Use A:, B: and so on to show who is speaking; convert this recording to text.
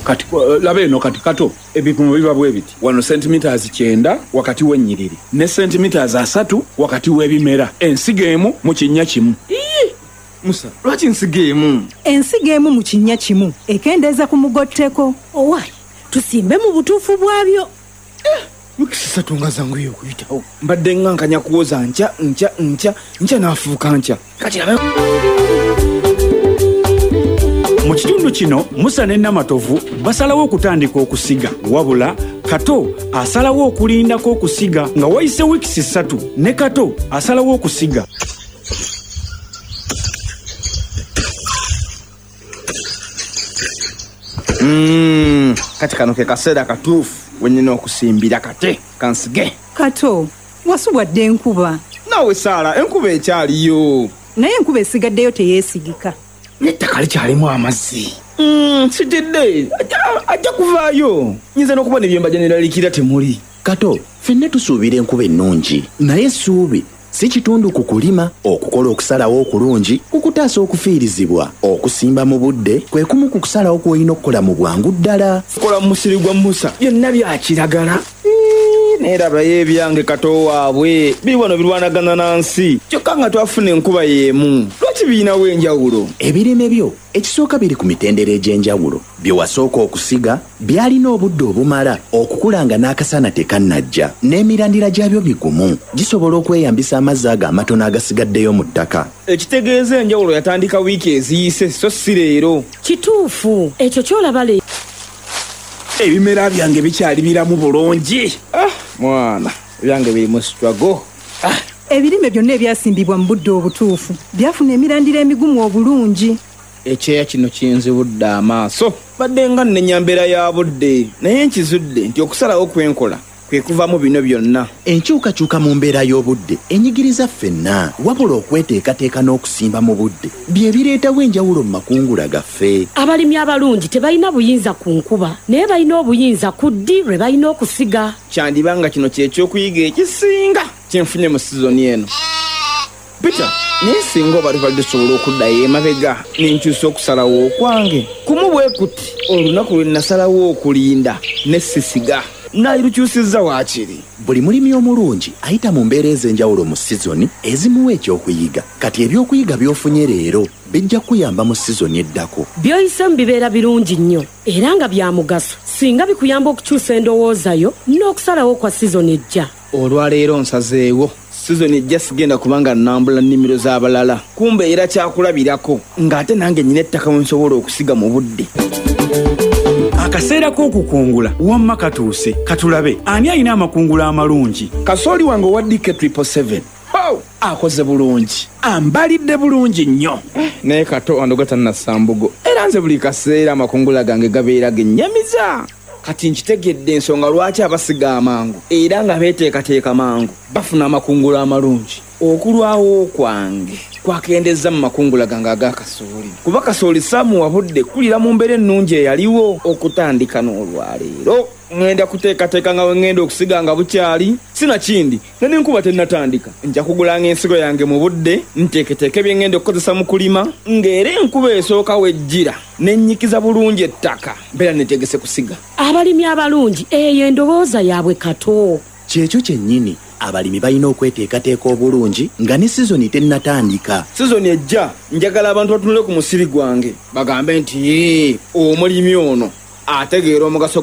A: Kati laba eno kati Kato, ebipimo biba bwe biti. Wano centimeters 90 wakati w'ennyiriri ne centimeters 30 wakati w'ebimera. Ensigo emu mu kinnya kimu.
B: Musa, lwaki nsigo emu?
C: Ensigo emu mu kinnya kimu ekendeeza ku mugotteko.
D: Owaayi, tusimbe mu butuufu bwabyo.
B: Wiiki 3 nga zanguye okuyitawo. Mbadde nga nkanya kuwoza nkya nkya nkya nkya n'afuuka nkya. Kati laba.
E: Mu kitundu kino Musa ne Namatovu basalawo okutandika okusiga, wabula Kato asalawo okulindako okusiga nga wayise wiiki 3 ne Kato asalawo okusiga.
B: Kati kano ke kaseera katuufu we nnina okusimbira kate kansige.
C: Kato, wasubwadde enkuba.
B: Naawe Saala, enkuba ekyaliyo.
C: Naye enkuba esigaddeyo teyeesigika.
B: N'ettaka likyalimu amazzi. Sitidde, ajja kuvaayo. Nyinza n'okuba ne bye mbadde neeraliikirira temuli.
F: Kato, ffenna tusuubira enkuba ennungi, naye essuubi si kitundu ku kulima. Okukola okusalawo okulungi kukutaasa okufiirizibwa. Okusimba mu budde kwe kumu ku kusalawo kw'olina okukola mu bwangu ddala.
B: Kola mu musiri gwa Musa, byonna bya kiragala. Naye labayo ebyange Kato waabwe biri wano birwanagana na nsi, kyokka nga twafuna enkuba y'emu. Lwaki birinawo enjawulo?
F: Ebirime byo ekisooka biri ku mitendera egy'enjawulo. Bye wasooka okusiga byalina obudde obumala okukula nga n'akasana tekannajja, n'emirandira gyabyo migumu, gisobola okweyambisa amazzi ago amatono agasigaddeyo mu ttaka.
B: Ekitegeeza enjawulo yatandika wiiki eziyise, so si leero.
D: Kituufu ekyo ky'olaba leero.
A: Ebimera byange bikyali biramu bulungi.
B: Mwana, ebyange biri mu struggle.
C: Ebirime byonna ebyasimbibwa mu budde obutuufu byafuna emirandira emigumu obulungi.
B: Ekyeya kino kinzibudde amaaso. Badde nga nnenya mbeera ya budde, naye nkizudde nti okusalawo kwe nkola kwe kuvamu bino byonna.
F: Enkyukakyuka mu mbeera y'obudde enyigiriza ffenna, wabula okweteekateeka n'okusimba mu budde bye bireetawo enjawulo mu makungula gaffe.
D: Abalimi abalungi tebalina buyinza ku nkuba, naye balina obuyinza ku ddi lwe balina okusiga.
B: Kyandiba nga kino kye ky'okuyiga ekisinga kye nfunye mu sizoni eno. Peter, naye singa oba tubadde tusobola okuddayo emabega ne nkyusa okusalawo okwange kumu bwe kuti, olunaku lwe nasalawo okulinda ne sisiga nalirukyusizza waakiri.
F: Buli mulimi omulungi ayita mu mbeera ez'enjawulo mu sizoni ezimuwa ekyokuyiga. Kati ebyokuyiga by'ofunye leero bijja kukuyamba mu sizoni eddako.
D: By'oyisemu bibeera birungi nnyo era nga bya mugaso singa bikuyamba okukyusa endowooza yo n'okusalawo kwa sizoni ejja.
B: Olwaleero nsazeewo sizoni ejja sigenda kubanga nnambula nnimiro z'abalala, kumbe era kyakulabirako ng'ate nange nnyina ettaka we nsobola okusiga mu budde.
E: Akaseera k'okukungula wamma katuuse. Katulabe ani alina amakungula amalungi.
A: Kasooli wange owa DK 777 akoze bulungi, ambalidde bulungi nnyo.
B: Naye Kato andoga tannassa mbugo, era nze buli kaseera amakungula gange gabeera gennyamiza. Kati nkitegedde ensonga lwaki abasiga amangu era nga beeteekateeka mangu bafuna amakungula amalungi. Okulwawo kwange kwakendezza mu makungula gange ag'akasooli, kuba kasooli saamuwa budde kulira mu mbeera ennungi eyaliwo. Okutandika n'olwaleero ŋŋenda kuteekateeka nga we ŋŋenda okusiga nga bukyali, sinakindi nga n'enkuba tennatandika. Nja kugulanga ensigo yange mu budde, nteeketeeke bye ŋŋenda okukozesa mu kulima, ng'era enkuba esooka wejjira ne nnyikiza bulungi ettaka, mbeera neetegese kusiga.
D: Abalimi abalungi eyo endowooza yaabwe Kato.
F: Kyekyo kyennyini, abalimi balina okweteekateeka obulungi nga ne sizoni tennatandika.
B: Sizoni ejja njagala abantu batunule ku musiri gwange bagambe nti, "Ee, omulimi ono ategeera omugaso."